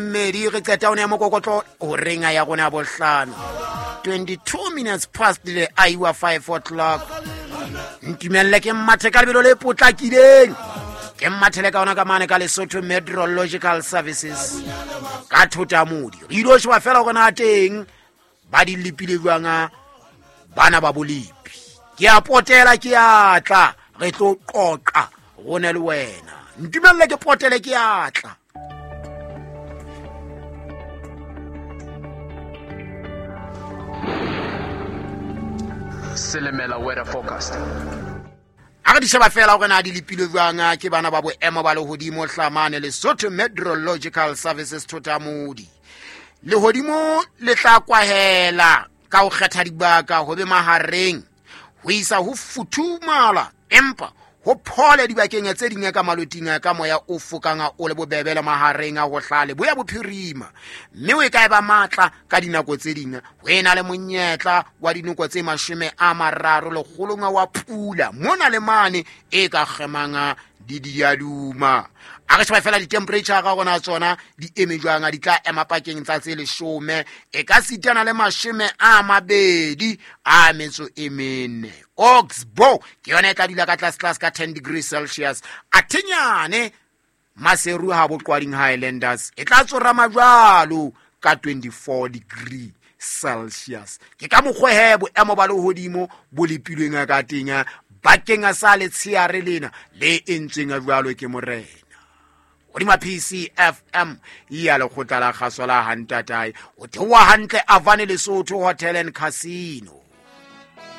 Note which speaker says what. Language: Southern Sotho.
Speaker 1: Mmedi re qeta o ne ya mokokotlo horeng ya rona ya bohlano, 22 minutes past the hour, 5 o'clock. Ntumelle ke mmathe ka lebelo le potlakileng, ke mmathele ka ona ka mane ka Lesotho Meteorological Services ka Thotamodi. Re ile sheba fela gore na teng ba di lepile jwang bana ba bolepi. Ke a potela, ke a tla, re tlo qoqa rone le wena. Ntumelle ke potele, ke a tla.
Speaker 2: Selemela weather forecast.
Speaker 1: A re di sheba fela gore na di lepile jwang ke bana ba boemo ba lehodimo hlamane Lesotho Meteorological Services Thotamodi. Lehodimo le tla kwahela ka ho kgetha dibaka ho be mahareng ho isa ho futhumala, empa ho phole dibakeng tse ding ka maloting ka moya o fokang o le bobebe le mahareng a ho hlale boya bophirima, mme o e ka e ba matla ka dinako tse ding. Ho e na le monyetla wa dinoko tse 30 lekgolong wa pula mona le mane e ka kgemang di diaduma. A re sheba fela di-temperature ka gona tsona di eme jwang, di tla ema pakeng tsa tse 10 e ka sitana le 24. Oxbow ke yona e tla dula ka tlase ka 10 degrees Celsius. A thenyane Maseru ha boqwading Highlanders e tla tsorama jwalo ka 24 degree Celsius. Ke ka mokgwa he boemo ba lehodimo bo lepilweng ka teng bakeng sa letsheare lena le entsweng jwalo ke morena. Hodima PCFM ya lekgotla la kgaso la Hantatae, o theoha hantle Avane Lesotho Hotel and Casino.